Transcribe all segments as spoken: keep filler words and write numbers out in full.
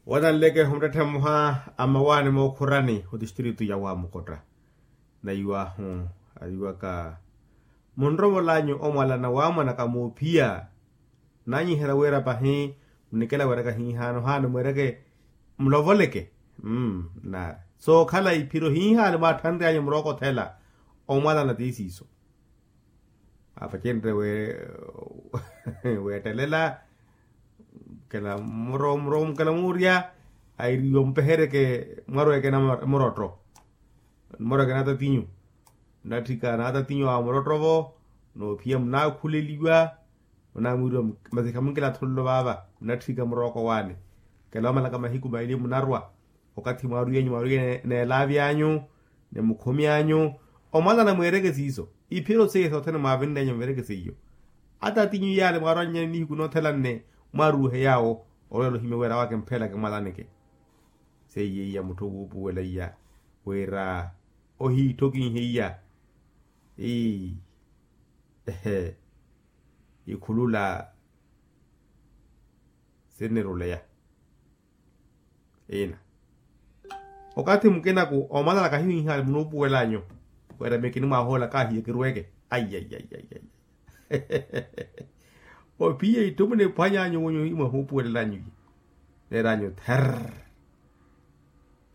Watanleke omuttetthe mmoha a mawaani mookhurani otistritu ya wamukotta. Naiwahu ayiwaka munrovolanyu omwalana wamwanaka muuphiya. Nanyiherya wira pahi munikela wiraka hihaano haano mweereke mulovoleke. Mmm nari sookhala iphiro hihaano mwatthanryanyu murooko othela. Omwalana ti siiso. Apacenrye weettelela. Kela muro muro mukela muurya airiwa mupehereke mwarwa ekena murotto. Mwarwa ekena atatinyu. Nnatthika n'atatinyu awo murotto-vo. Noophiya munaakhuleliwa. Munaamwiiriwa masi khamunkela athololo vaava nnatthika murooko waani. Kela omalaka mahiku maili munarwa. Okathi mwaarwiyenyu mwaarwiye n'elaavi anyu ni mukhumi anyu. Omwalana mweereke siiso iphiro seiya sothene mwaavinneenya muverekese iyo. Ata atinyu yaale mwaarwannye nihiku noothelane. Mwaaruuhe yaawo olweela ohimya wira awo akemphelaka mwalaneke. Seiya iya mutthu wuupuwela iya wira ohiitthokihe iya. Ii ehe ikhulula sinniruleya. Ina okathi mukinaku omwalana kahihihaale munuupuwel'anyu. Wira miyo kinimwahoola kaahiye kirweke. Aiyaiyaiyaiya. Ophiye itthu muniphwany'anyu wunyu imwe huupuwelel'anyu iye. Neer'anyu therr.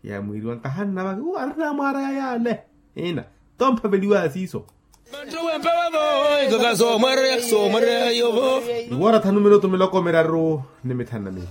Yaamwiiriwa nkahannavaka uwo arinamwaaraya yaale. Ina tomphaveliwaya siiso. Iwora thanu minutu miloko miraru ni mithanu na miili.